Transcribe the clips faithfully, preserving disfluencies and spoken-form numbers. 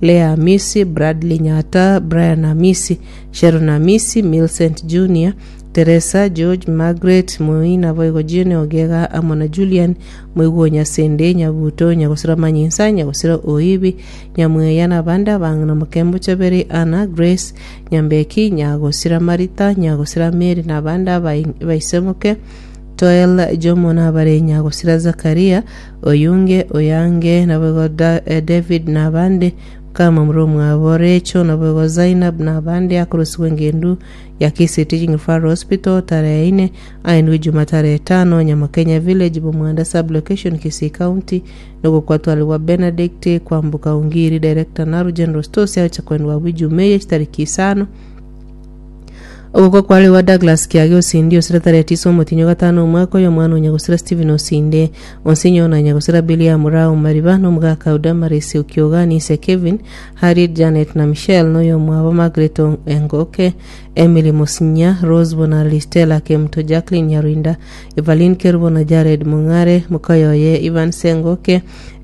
Leah Amisi, Bradley Nyata, Brian Amisi, Sharon Amisi, Millicent Junior, Teresa, George, Margaret, Moi naboigo Jane Ogega amo na Julian Moigwa o Nyasende, Nyabuto, Nyagosira Manyinsa, Nyagosira Oibi, Nyamweya na abande abang'ina Mokembo Chaberi, Anna, Grace, Nyambeki, Nyagosira Marita, Nyagosira Mary na abande abai- baisemoke Toel Jomo na abare Nyagosira Zakaria, Oyunge, Oyange, naboigo Da- eh, David na abande kama muromwabo Rachel naboigo Zainab na abande akorosiwa engendu ya Kisii Teaching Referral Hospital tarehe ine aendwe Juma tarehe tano Nyamakenya Village Bomwanda sub-location Kisii County nogokwatwaliwa Benedict Kwambuka Ungiri Director Naru General Stores yacha kwendwa bwijumeye chitariki isano ogokwa kwariwa Douglas Kiage Osindi osire tarehe tisa omotinyo gatano omwaka oyo omwana onyagosira Stephen Osinde onsinyo na nyagosira Billy Amurao Mariba n'omugaka Damaris Okioga Nise Kevin Harriet Janet na Michelle n'oyo omwabo Margaret Ong- Engoke Emily Musinya Rose Bonali Stella Kemto Jacqueline Nyarinda Evelyn Kerubo na Jared Mung'are Mukayoye Ivan Sengoke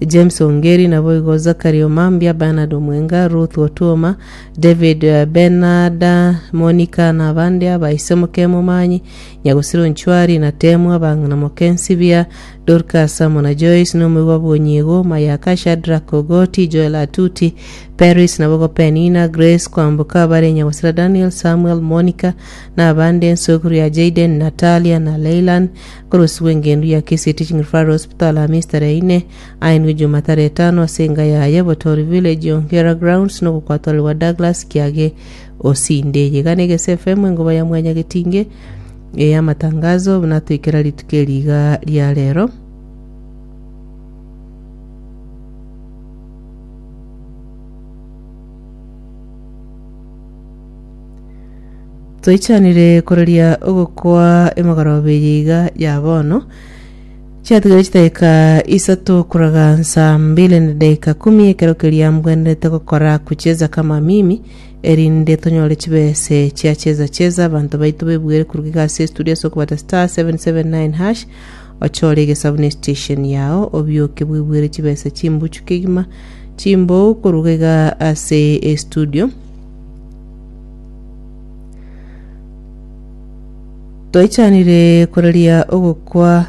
James Ongeri naboigo Zachary Omambia Bernard Omwenga Ruth Otuoma David eh, Bernard Monica na abande abaisemoke momanyi Nyagosira Onchwari na Temu abang'ina Mokensibia Dorcas amo na Joyce n'omoigwa Bwonyigo Mayaka Shadrack Ogoti Joel Atuti Paris nabogo Penina Grace Kwamboka abare Nyagosira Daniel Samuel Monica na abande ensokuru ya Jaden Natalia na Leylan korosiwa engendu ya Kisii Teaching Referral Hospital Hamisi tarehe ine aenwe Juma tarehe tano ase enga yaye Botori Village Ongera Grounds nogokwatwaliwa Douglas Kiage Osinde yegane Gese F M engoba ya mwanya getinge ey'amatangazo buna toikera rituko eriga ria rero. Toichanire koreria ogokwa emagoroba eye iga ya bono chiatigire chidakika isato kuraga saa mbili na dakika kumi ekero keria mbwenerete gokora kucheza kama mimi erinde tonyore chibese chia cheza cheza abanto baito bebwere kuruga iga ase estudio ase okobata star seven seven nine hash ochore egesabuni station yao obioke bwebwere chibesa chimbuchu kegima chimbou koruga iga ase estudio. Toichanire koreria ogokwa